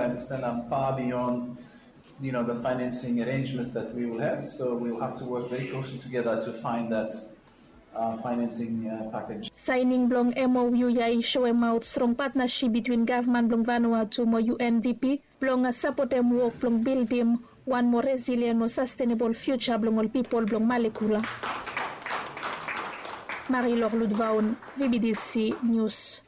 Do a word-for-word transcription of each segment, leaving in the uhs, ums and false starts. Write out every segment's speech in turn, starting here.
Understand I'm far beyond, you know, the financing arrangements that we will have. So we will have to work very closely together to find that uh, financing uh, package. Saening blong M O U ya i soemaot strong patnasip bitwin gavman blong Vanuatu mo U N D P blong sapotem wok blong bildim wan moa resilien mo sastenebol fiuja blong ol pipol blong Malekula. Marilok Ludvaon, V B T C News.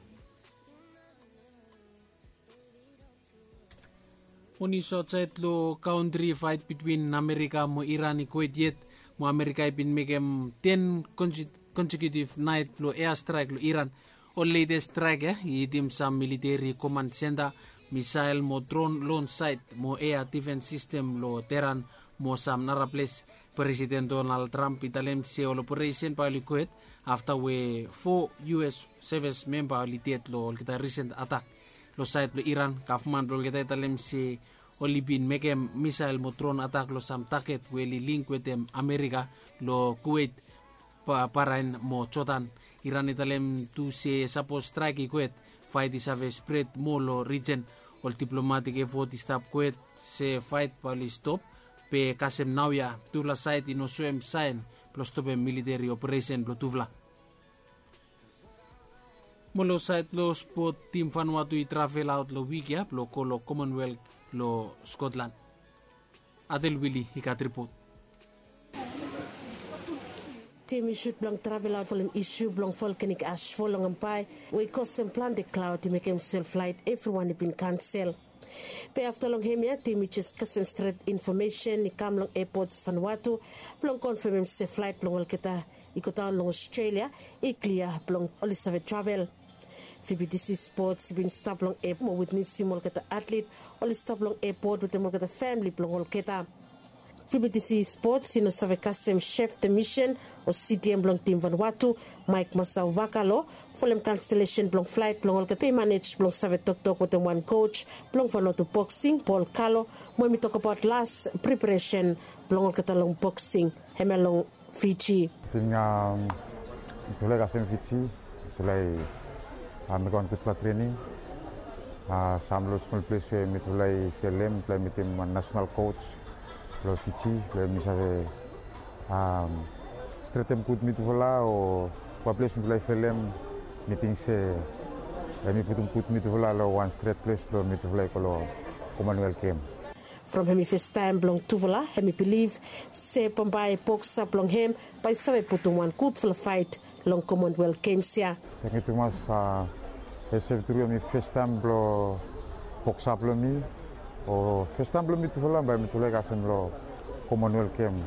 Oni sot saed long kantri, faet bitwin Amerika mo Iran i kwet yet, mo Amerika i bin mekem ten konsekiutiv naet blong eastraek long Iran. Ol letes straek ya i hitim sam militeri koman senta, misael mo dron long saet mo ea difens sistem long Teheran mo sam nara ples. Presiden Donald Trump i talem se ol operesen bae oli kwet afta we fo U S seves memba oli ded long olgeta risen atak. Long saed blong Iran, gavman blong olgeta i talem se oli bin mekem misael mo dron atak long sam taget we oli link wetem Amerika long Kuwet, Bahrain mo Jordan. Iran i talem tu se sapos straek i kwet, faet i save spred moa long rijen. Ol diplomatik efot i stap kwet se faet bae oli stop, be kasem naoia tufala saed i no soem saen blong stopem militeri operesen blong tufala. Mo long saed long spot, tim Vanuatu i travel aot long wik ya blong go long Commonwealth long Scotland. Adel Wili i gat ripot. Tim i sut blong travel aot folem isu blong volkanik asfol long Ambae we i kosem plante klaod i mekem sel flaet evriwan i bin kansel. Be afta long hem ya, tim i jes kasem stret infomesen i kam long epots Vanuatu blong konfemem se flaet blong olgeta i godaon long Australia i klia blong oli save travel. V B T C Sports i bin stap long ep mo witnesim olgeta atlet oli stap long epot wetem olgeta famili blong olgeta. V B T C Sports i no save kasem chef de mission o C D M blong tim Vanuatu, Mike Masau Vakalo, folem kanselesen blong flaet blong olgeta, be i manej blong save toktok wetem wan coach blong Vanuatu boksing, Paul Kalo, mo hem i tokbaot las preparesen blong olgeta long boksing hemia long Fiji. Ting, um, mitufala i kasem Fiji, mitufala i, uh, mekem wan gudfala trening. Uh, sam long smol ples we mitufala i felem, mitufala i mitim wan nasenal coach blong Fiji, blong hem i save, um, stretem gud mitufala, o wan ples mitufala i felem, mi ting se hem i putum gud mitufala long wan stret ples blong mitufala i go long Commonwealth Game. From hem i festaem blong tufala, hem i bilif se bambae boksa blong hem bae i save putum wan gudfala faet long Commonwealth Games ya. Tangkiu tumas, a, hesep tru hem i festaem blong boksa blong mi, o festaem blong mitufala bae mitufala i kasem long Commonwealth Game.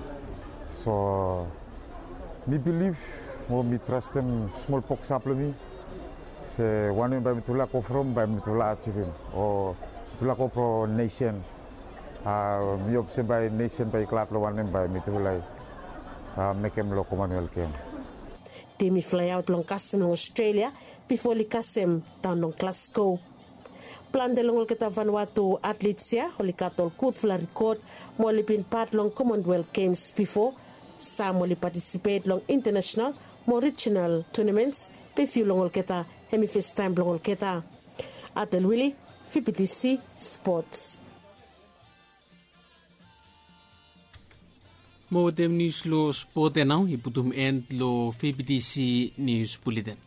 So mi bilif mo mi trastem smol boksa blong mi se wanem bae mitufala go from, bae mitufala ajivim, o mitufala go from nesen. A, mi hop se bae nesen bae i glad long wanem bae mitufala i, a, mekem long Commonwealth Game. Tim i flaeaot long kasem long Australia bifo oli kasem daon long Glasgow. Plante long olgeta Vanuatu atlets ya oli gat ol gudfala rikod mo oli bin pat long Commonwealth Games bifo. Sam oli patisipet long intanesenal mo rijinal tunaments, be fiu long olgeta hem i festaem blong olgeta. Adel Wili, V B T C Sports. Mo wetem nius long spot ya nao i putum en long V B T C Nius Buleten.